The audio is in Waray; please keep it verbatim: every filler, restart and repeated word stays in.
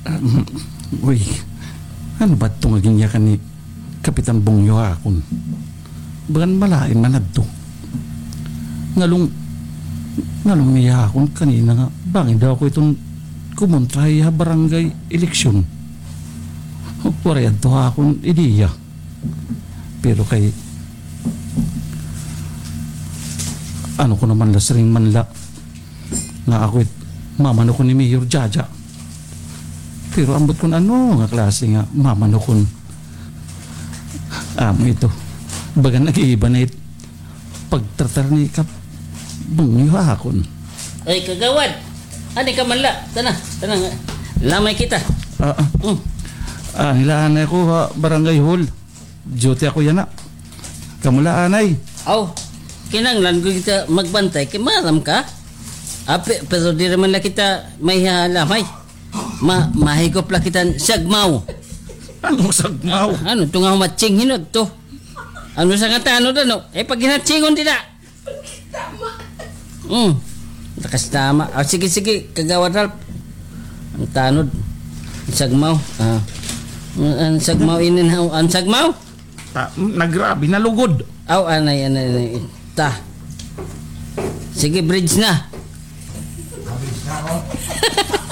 Ah, uy, ano ba ito nga ginyakan ni Kapitan Bungyo ha akon? Bagan malain man adto. Ngalong, ngalong niya ha akon kanina nga bangin daw ako iton kumontra ha iya barangay eleksyon. Waray adto ha akon ideya. Pero kay, ano ko naman la, siring man la nga ako it mamanukon ni Mayor Jaja. Pero ambot kon ano nga klase nga mamanukon. Amo ito. Baga nag-iiba na it pagtratar ni Kap Bungyo ha akon. Ay, kagawad! Ani ka man la? Tana, tana nga. Lamay kita. Ah, ah. Mm. Ah, nilahan na ako ha barangay hall. Duty ako yana. Kamo la anay. Aw, kinahanglan ko kita magbantay kay maaram ka. Ape, pero diri man la kita mahihalamay. Ma, mahigop la kita hin sagmaw. Ano sagmaw? Ano to nga humatsing hinot to? Ano sa nga tanod, ano? Eh, pag hinatsingon dida. Mm. Lakas tama. Ah, sige, sige, Kagawad Ralph. An tanod. An sagmaw. Ah. An sagmaw ini na, an sagmaw? Ta, nagrabi, nalugod. Aw, anay, anay, anay. Ta. Sige, bridge na.